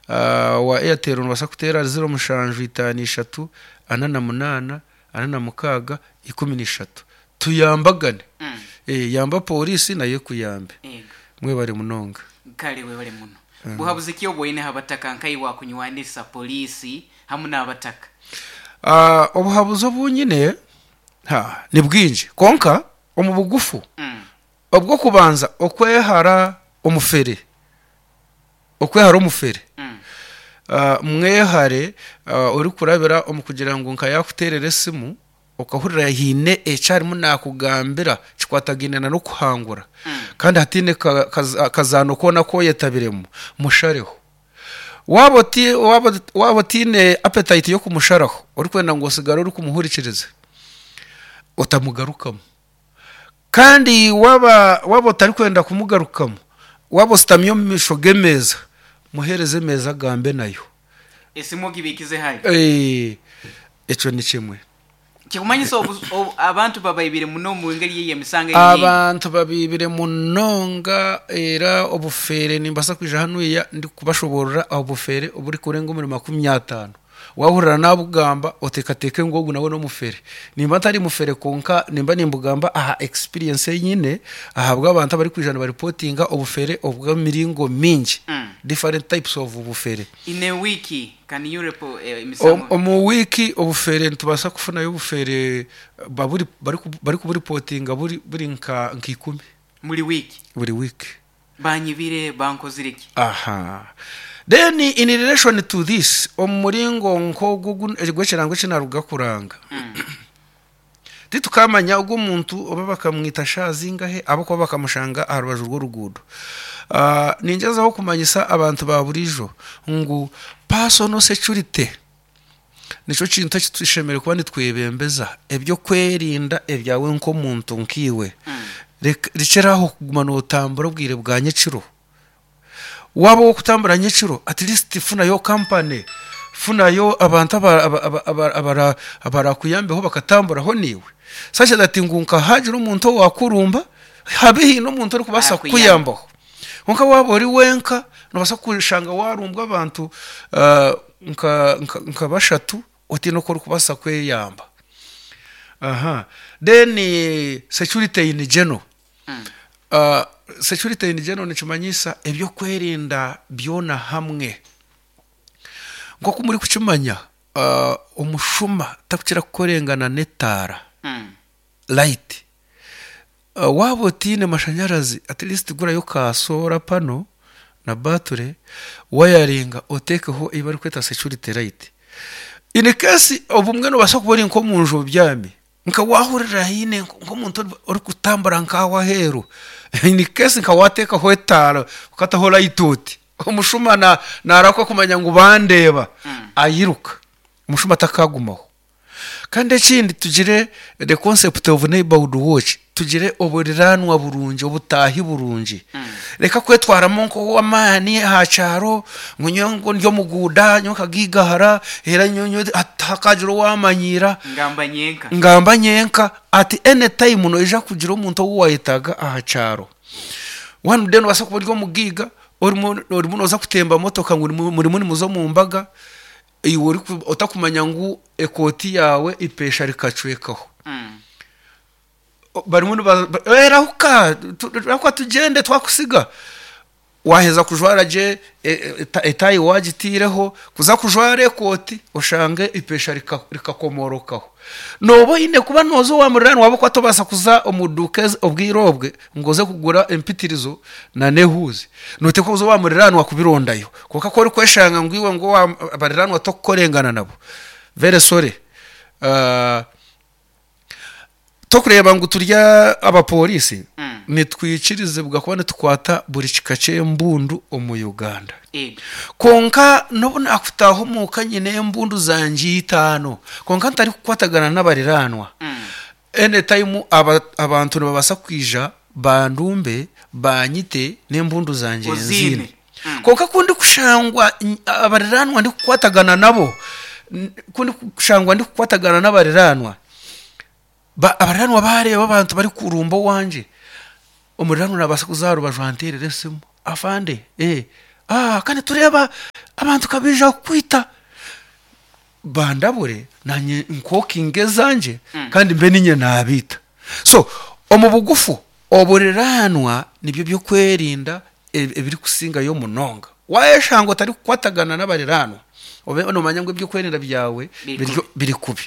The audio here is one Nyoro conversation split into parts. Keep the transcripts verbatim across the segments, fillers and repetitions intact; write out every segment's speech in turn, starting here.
uh, wa Airtel nobasa kuteera ziro mushanju itaano ishatu ana na munaana ana na mukaaga ikumi n'ishatu. Tuyambagane. Mm. Eh, yamba polisi naye kuyambe. Ego. Mwebare munonga. Kale, webale muno. Buhabuzi ki obwoine abataka nkaiwe kunywanisa polisi hamu n'abataka? uh, obuhabuzi obunyine ha ni bwingi, konka omu bugufu, Mm. obwokubanza okwehara omufere, okwehara omufere. Mm. uh, mwehare uh, ori kurabira omu kugira ngu nka yakuterera esimu okahurira hiine ekyarimu nakugambira kikwatagaine na n'okuhangura, Mm. kandi hatine ka- kaza- kazaano koona koyetabiremu, mushareho. Waba oti- waba waba otiine appetite yo kumusharaho, orikwenda ngu osigare ori kumuhurikiriza, otamugarukamu. Kandi waba waba otarikwenda kumugarukamu, waba ositamye omu maisho g'emeeza, muhereze emeeza agambe nayo. Esimu ogibikize hali. Eh, ekyo ni kimwe. Kikumanyisa obu- obu- abantu babaibire muno mu ngeri yeyo emisango eyi. Abantu babibire munonga, era obufere nimbasa kwija hanuya ndikubashoborora obufere oburi kurenga omuri makumi ataano. Wahurira nabugamba, oteekateeke ngu ogu nawe n'omufere. Nimba ntari mufere, konka nimba nimbugamba aha experience enyine ahabw'abantu abarikwija nibaripotinga obufere obw'emiringo mingi, Mm. different types of obufere. In a week can you report eh, Om- emisango? Omu wiiki obufere nitubasa kufunayo obufere baburi bari kuburipotinga buri buri nka nka ikumi. Muri wiki? Buri wiki. Banyibire, bankozire iki? Aha, then in relation to this, omu muringo nk'ogu gw'ekirango ekinaruga kuranga, Mm. titukamanya ogwo omuntu oba bakamwita shazingahe abo kuba bakamushanga aha rubaju rw'oruguudo. uh, ningezaho kumanyisa abantu ba burijo ngu personal security nicyo kintu ekitushemereire kuba nitwebembeza, ebyokwerinda ebyawe nk'omuntu nkiwe. Mm. Reka- rekeraho kuguma notambura obwire bwa nyekiro. Waba wokutambura nyekiro, at least funayo company, funayo abantu aba- aba- aba- aba- abara- abarakuyambeho bakatamburaho niwe, such that ngu nka hagira omuntu owakurumba, habe hiine omuntu orikubaasa Arakuyamba. kukuyambaho. Konka waba ori wenka, nobasa kushanga warumbwa abantu uh, nka, nka, nka bashatu otiine oku orikubaasa kweyamba. Aha, then eh, security in general. Mm. uh, security in general nikimanyisa ebyokwerinda byona hamwe. Nk'oku muri kukimanya, uh, omushuma takukira kukorengana n'etaara, Mm. light. uh, waba otiine mashanyarazi, at least gurayo ka solar panel na battery, wayaringa otekeho eyi barikweta security light. In case obumwe nobasa kuba ori nk'omunju obyami, nka wahurira hiine nk'omuntu ori- orikutambura nkaho aheeru, in case nka wateekaho etaara ukataho light oti omushuma na narakwa kumanya ngu bandeeba, Mm. ayiruka, omushuma takagumaho. Kandi ekindi, tugire the concept of neighborhood watch, tugire oburiranwa burungi, obutahi burungi. Mm. Reka kwetwaramu nk'owamaani aha kyaro ngu nyowe ngo ndi omuguuda, nyowe nkagigahara, era nyowe hakagira owamanyira. Ngamba nyenka. Ngamba nyenka. At any time noija kugira omuntu ou wayetaga aha kyaro. One day nobasa kuba ori omugiga, orimu orimu noza kutemba motoka ngu nimu- murimu nimuza omu mbaga, iwe oriku- otakumanya ngu ekooti yawe ipesha rikacwekaho. Mm. Barimu niba- ba- "Eh, rahuka, tu- rahuka tugende twakusiga." Waheza kujwara gye e- e- eta- etayi wagitiireho kuza kujwara ekooti, oshange ipesha rika- rikakomorokaho. Noba oine kuba noza owa muriraani waba kuba tobaasa kuza omu duuka ezi- obwire obwe ngu oze kugura empitirizo na nehuuzi, noteekwa kuza owa muriraanwa kubirondayo. Konka ku orikweshanga ngu iwe ngu owa bariraanwa tokukorengana nabo, very sorry. uh, tokureba ngu turya abapolisi, Mm. nitwikirizibwa kuba nitukwata buri kika ky'embundu omu Uganda. Ego. Konka nobu nakutaha omuka nyine embundu zangye itaano, konka ntari kukwatagana n'abariranwa, Mm. anytime aba, abantu nibabasa kwija bandumbe banyite n'embundu zangye Ozine. nzine. Mm. Konka kundi kushangwa n- abariranwa ndikukwatagana nabo, n- kundi kushangwa ndikukwatagana n'abariranwa, Ba- abariranwa bareba abantu bari kurumba owanje, omuriranwa nabasa kuza aha rubaju anterera esimu, "Afande, eh, Ah, kandi tureba abantu kabija kukwita bandabure nanye nkokinge ezanje Mm. kandi mbe ninye nabita. So omu bugufu oburiranwa nibyo byokwerinda eb- ebiri kusingayo munonga. Wayeshanga otari kukwatagana n'abariranwa, obe nomanya ngu ebyokwerinda byawe Biri biri kubi. biri kubi.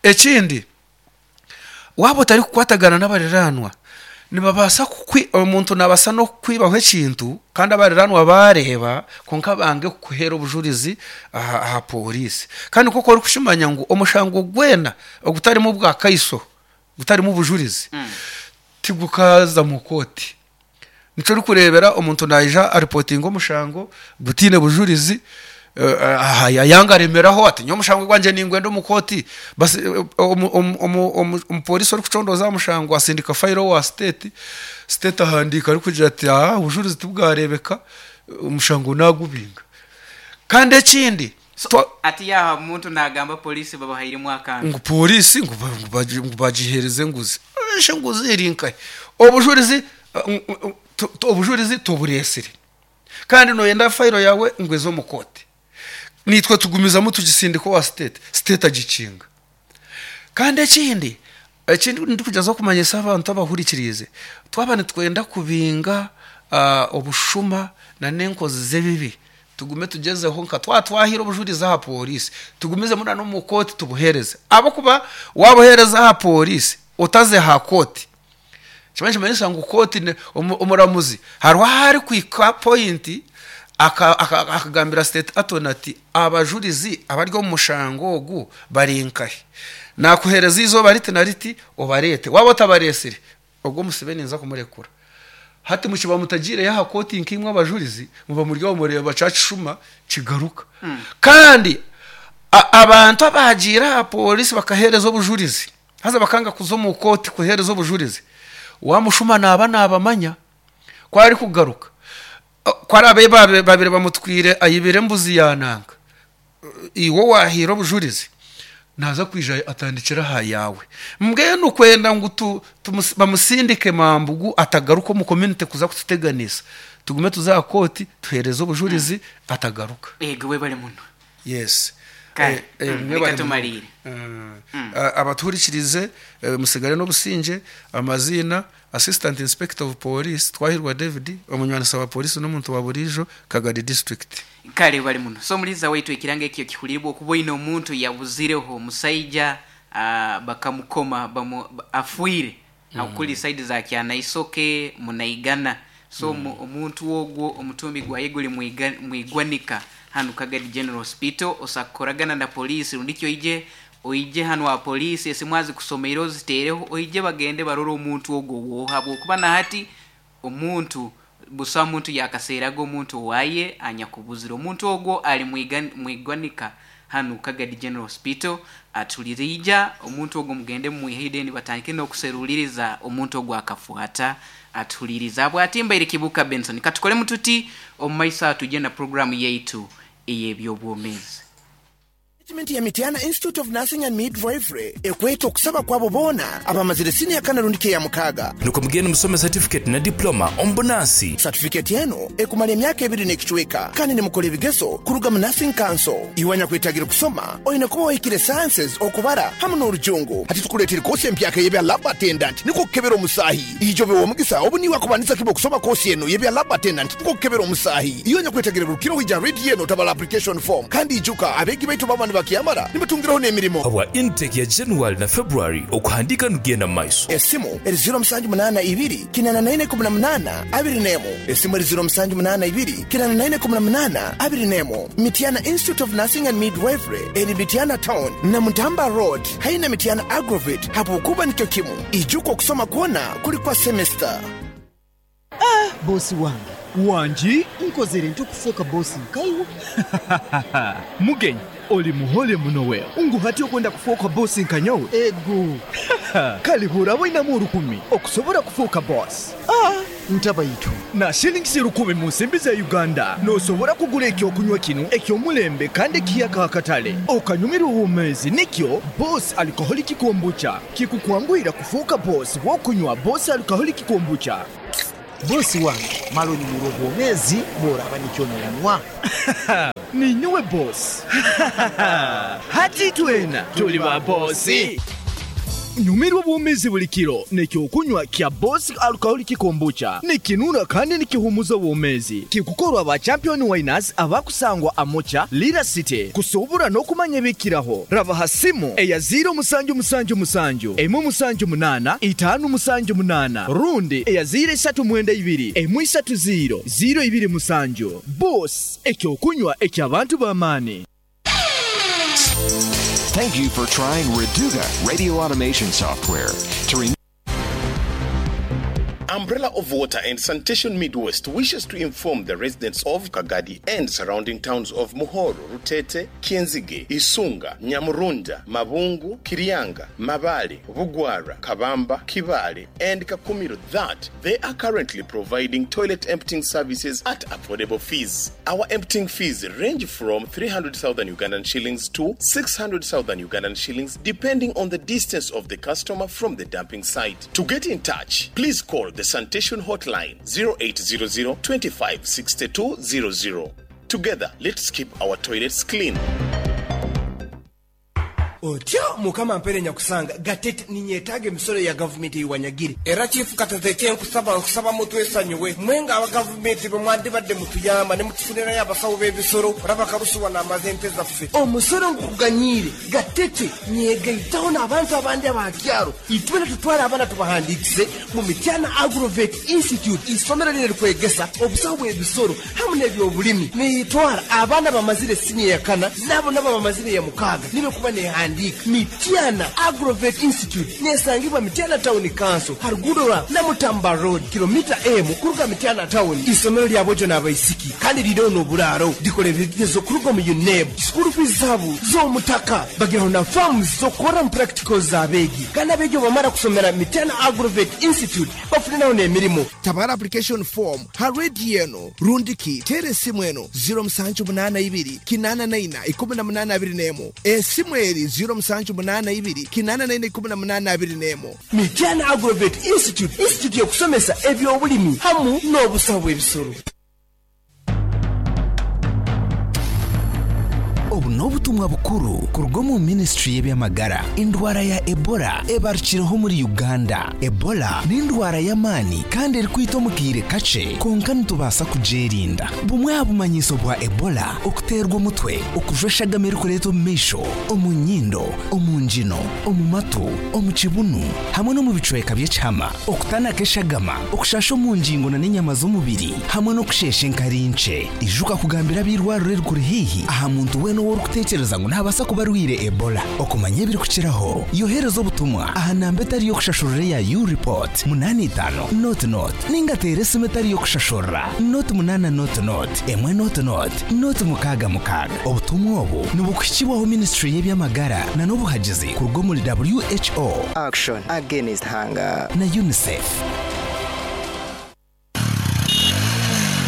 Ekindi, waba otari kukwatagana n'abariranwa, nibabasa kukwi, omuntu nabasa n'okukwibaho ekintu kandi abariranwa bareba konka bange kukuhera obujurizi aha, aha polisi. Kandi koko ori kushimanya ngu omushango gwena ogutarimu bwa kaiso, gutarimu obujurizi, Mm. tigukaza mu koti. Nico ori kurebera omuntu naija aripotinga omushango gutine bujurizi, eh, aha, yanga aremeraho ati nyo omushango gwanje ningwenda omu koti. Basi, eh, omu-, omu-, omu-, omu-, omupolisi ori kucondoza omushango asindika fayiro wa state, state ahandika ari kugira ati ah, obujurizi tibwarebeka, omushango nagubinga. Kandi ekindi, So, twa- ati yaha omuntu nagamba polisi babahairemu akantu. Ngu polisi ngu ba-, ngu bagi-, ngu bagihereze nguzi. Eshe nguzi eri nkahe? Obujurizi, eh, ng-, ng-, tu-, tu-, obujurizi tuburesire. Kandi noyenda fayiro yawe ngo ezo mu koti. Nitwe tugumizamu tugisindika wa state, state agikinga. Kandi ekindi, ekindi ndikugezaho kumanyisa abantu abahurikirize, twaba nitwenda kubinga, ah, obushuma na n'enkozi z'ebibi, tugume tugezeho nka twatwahira obujurizi aha polisi, tugumize muna no mu koti tubuhereze. Abo kuba wabuhereza aha polisi otaze ha koti, kiba kimanyisa ngu koti ne-, omu-, omuramuzi hariho ahari kwika point aka-, aka-, akagambira state attorney ati abajurizi abari omu mushango ogu bari nkahe, nakuhereza izoba riti na riti obarete, waba otabaresire ogwo musibe ninza kumurekura. Hati mukiba mutagire yaha koti nkimwe abajurizi muba muri aho mureba cacishuma kigaruka. Mm. Kandi a-, abantu abagira aha polisi bakahereza obujurizi, haza bakanga kuza omu koti kuhereza obujurizi, wa mushuma naba nabamanya kwari kugaruka. Kwari abe babe-, babiri bamutwire ayibire embuzi yananga, iwo wahira obujurizi naza kwija atandikira aha yawe. Mbwenu kwenda ngu tu-, tumus-, bamusindike mambugu atagaruka omu community kuza kututeganisa, tugume tuza koti tuhereze obujurizi atagaruka. Ego we bali muno. Yes. Kale, Eh, eh, mm, mwe reka bali muno. tumalire. Mm. Mm. A-, abatuhurikirize, eh, musigare n'obusinge. Amazina Assistant Inspector of Police Twahirwa David, omunywanisa wa polisi n'omuntu wa burijo Kagadi District. Kale bali muno. So muliza waitu ekirango ekyo kihulirwa okuboina omuntu yabuzireho omusajja, ah, bakamukoma, bamu-, afuire. Mm. Akuli side za Kyanaisoke munaigana. So Mm. mu-, omuntu ogwo omutumbi gwa yeguli mwiga-, mwigwanika hanu Kagadi General Hospital, osakoragana na polisi rundikyo ije oije hanu wa polisi esimwazi kusomera ozitereho oije bagende barore omuntu ogwo wohabwo kuba na hati omuntu busa omuntu yakaseraga omuntu waye anyakubuzira omuntu ogwo ali mwiga-, mwigwanika hanu Kagadi General Hospital atulirija omuntu ogwo mugende mumwihide ni batandike n'okuseruliriza omuntu ogwo akafuata atuliriza bwatimba iri Kibuka Benson. Katukole mututi omumaisa tujye na programu yaitu ey'ebyobwomeezi. Management ya Mityana Institute of Nursing and Midwifery ekweta okusaba kwabo boona abamazire siniya kana rundi ke ya mukaaga. Nuko mugende musome certificate na diploma ombunasi. Certificate eno ekumala emyaka ebiri n'ekicweka kandi nimukola ebigezo kuruga mu Nursing Council. Iwanya kwetagira kusoma oyina kuba wahikire sciences okubara hamwe n'orujungu. Hati tukuleetera kosi empyaka y'ebya lab attendant niko kukebera omusaahi. Ijo be omugisa obu niwe akubanisa kibo kusoma kosi eno y'ebya lab attendant niko kukebera omusaahi. Iwanya kwetagira rukiro hija ready eno tabala application form kandi ijuka abegi baitu baba ni bakiyamara nibatungiraho n'emirimo. Habwa intake ya January na February okuhandika nugenda mu maiso. Esimu eri zero musanju munana ibiri kinana na ine kumi na munana abiri n'emu. Esimu eri zero musanju munana ibiri kinana na ine kumi na munana abiri n'emu. Mityana Institute of Nursing and Midwifery eri Mityana Town na Mutamba Road haina Mityana Agrovet hapo kuba nikyo kimu. Ijuko okusoma kwona kuli kwa semester. Ah, bosi wange. Wangi? Nkozere ntukufuuka bosi nkaiwo. Mugenyi, oli muhole muno we. Unguhati okwenda kufuuka bosi nkanyowe? Ego. Kalihura wainamu olukumi okusobola kufuuka bosi. Ah, ntabayitu. Na shillings lukumi mu nsimbi za Uganda n'osobola kugula ekyokunywa kino eky'omulembe kandi ekiyaka akatale. Okanyumirwa obwomeezi nikyo Boss Alcoholic Kombucha kikukwanguyira kufuuka bosi bw'okunywa Boss Alcoholic Kombucha. Bosi wange malo nyumirwa obwomezi bworaba nikyo nonywa. Ninyuwe boss. Hati twena tuli ba bosi. Nyumirwa obwomezi buli kiro nekyokunywa kya Boss Alcoholic Kombucha nikinura kandi nikihumuza obwomezi kikukorwa ba Champion Winers abakusangwa Amocha Lira City kusobora n'okumanya ebikiraho raba hasimu eya zero musanju musanju musanju emu musanju munana itanu musanju munana rundi eya zero isatu mwenda ibiri emu isatu zero zero ibiri musanju. Boss ekyokunywa eky'abantu b'amaani. Thank you for trying Reduga radio automation software. To re- Umbrella of Water and Sanitation Midwest wishes to inform the residents of Kagadi and surrounding towns of Muhoro, Rutete, Kienzige, Isunga, Nyamurunda, Mabungu, Kirianga, Mabale, Bugwara, Kabamba, Kibale, and Kakumiro that they are currently providing toilet emptying services at affordable fees. Our emptying fees range from three hundred thousand Ugandan shillings to six hundred thousand Ugandan shillings depending on the distance of the customer from the dumping site. To get in touch, please call the sanitation hotline zero eight zero zero, twenty-five sixty-two zero zero. Together, let's keep our toilets clean. Otyo mukama mpere nyakusanga gatete ninyetaaga emisolo ya gavumenti eyiwanyagire era chifu katete kyenkusaba nkusaba mutwesanyuwe mwenga aba gavumenti bwe mwandibadde mutuyamba ne mutufunirayo abasawo b'ebisolo olaba kalusuwa n'amaze ente zaffe omusolo nkuganyiire gatete nyegaitaho n'abantu abandi abakyaro itwena tutwale abaana tubahandiikise mu Mityana Agrovet Institute isomero lino likwegesa obusawo bw'ebisolo hamu n'ebyobulimi niyitwara abaana bamazire siniya ya kana nabo nabo bamazire ya mukaaga nibe kuba nehandiika Mityana Agrovet Institute nesangibwa Mityana Town Council harugudo rwa Namutamba Road kilomita emu kuruga Mityana Town. Isomero lya bojo n'abaisiki kandi liriho n'oburaaro dikora ebigezo kuruga mu UNEB school fees zaabo z'omutaka bagiraho na farms z'okukora mu practicals z'abeegi kandi abeegi bamara kusomera Mityana Agrovet Institute bafuniraho n'emirimu. Tabara application form ha radio eno rundiki tere esimu eno zero musanju munana ibiri kinana naina ikumi na munana abiri n'emu esimu eri zero musanju munana ibiri kinana naina ikumi na munana abiri n'emu. Mityana Agrovet Institute institute y'okusomesa ebyobulimi hamu n'obusawo bw'ebisolo. Obu n'obutumwa bukuru kuruga omu ministry y'ebyamagara. Endwara ya Ebola ebarukireho muri Uganda. Ebola n'endwara y'amaani kandi erikwita omu kaire kakye, konka nitubaasa kugyerinda. Bumwe aha bumanyiso bwa Ebola okuteerwa omutwe, okujwa eshagama erikureeta omu maisho, omu nyindo, omu ngino, omu matu, omu kibunu hamwe n'omu bicweka by'ekihama, okutanaka eshagama, okushasha omu ngingo na n'enyama z'omubiri hamwe n'okusheesha enkari nkye. Ijuka kugambira ab'eirwariro erikuri haihi aha muntu weena oworikuteekereza ngu naabaasa kuba arwire Ebola. Okumanya ebirikukiraho yohereza obutumwa aha namba etari y'okushashurira ya U-Report munani itaano not not ninga teera esimu etari y'okushashurira not munana not not emwe not not not mukaaga mukaaga. Obutumwa obu nibukuhikibwaho ministry y'ebyamagara na n'obuhagizi kuruga omuri W H O Action Against Hunger na UNICEF.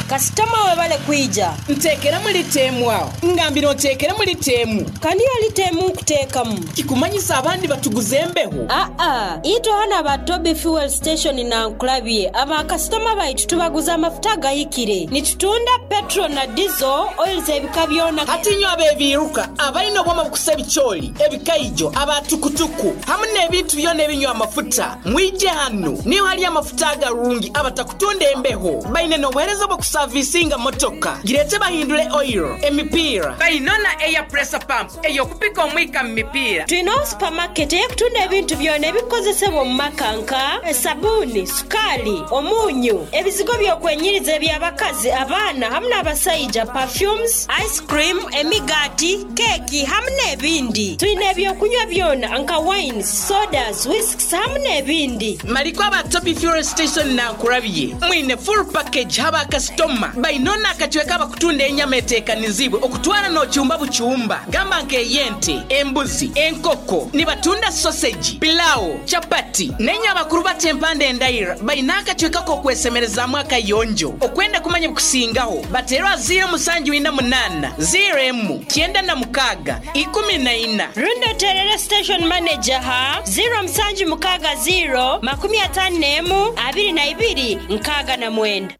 Kasitoma webale kwija ntekera muri temu aho ngambira ntekera muri temu kandi yali temu kuteekamu kikumanyisa abandi batuguze embeho. A a ito hana ba Toby Fuel Station na nkulabye aba kasitoma baitu tubaguza amafuta gahikire nitutunda petrol na diesel oils ebika byona. Hatinyo abebiruka abalina obwoma bukusa ebicholi ebikaijo abatukutuku hamwe n'ebintu byona ebinywa amafuta mwije hano niyo hali amafuta agarungi abatakutunda embeho baine n'obuheereza bwo kusavisinga motoka girete bahindule oil emipira bainona air pressure pump eyokupika omwika mu mipira. Tulina supermarket eyekutunda ebintu byona ebikozesebwa mu maka nka esabuni, sukali, omunyu, ebizigo byokwenyiriza eby'abakazi, abaana hamwe n'abasaija, perfumes, ice cream, emigati, keki hamwe n'ebindi. Tulina ebyokunywa byona nka wines, sodas, whisks hamwe n'ebindi. Maliko aba Toby Fuel Station na nkurabye mwine full package haba kasitoma Kakoma bainona akacweka bakutunda enyama eteekanizibwe okutwara n'ocyumba bucyumba gamba nk'eyente, embuzi, enkoko, nibatunda sausage, pilau, chapati n'enye abakuru bata empanda endaira baina akacweka k'okwesemerezaamu akayonjo. Okwenda kumanya bukusingaho baterwa ziro musanju ina munana ziro emu kyenda na mukaga ikumi na ina. Rundo terere station manager ha ziro musanju mukaga ziro makumi atano n'emu abiri na ibiri nkaga na mwenda.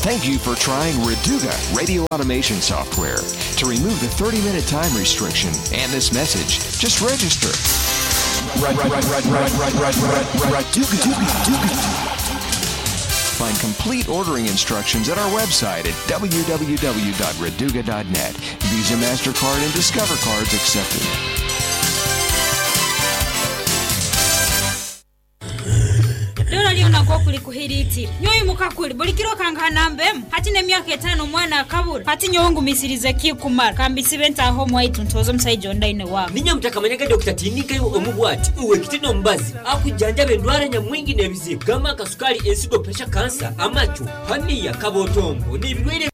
Thank you for trying Reduga radio automation software. To remove the thirty-minute time restriction and this message, just register. Find complete ordering instructions at our website at w w w dot reduga dot net. Visa, MasterCard, and Discover cards accepted. Dora liona kwa kulikuhiriti nyoyo mukakuli bulikiro kangana mbemu hati nemyaka etano mwana akabura hati nyowe misirize kikumara kambisibe ntaho mwaitu ntozo musaijo ndaine wabo ninya mutakamanyaga Doctor Tinika omubwati uwe kitino mbazi akujanja endwara nyamwingi n'ebizibu gama kasukari ensigo pressure cancer amachu hania kabotombo n'ibirwire.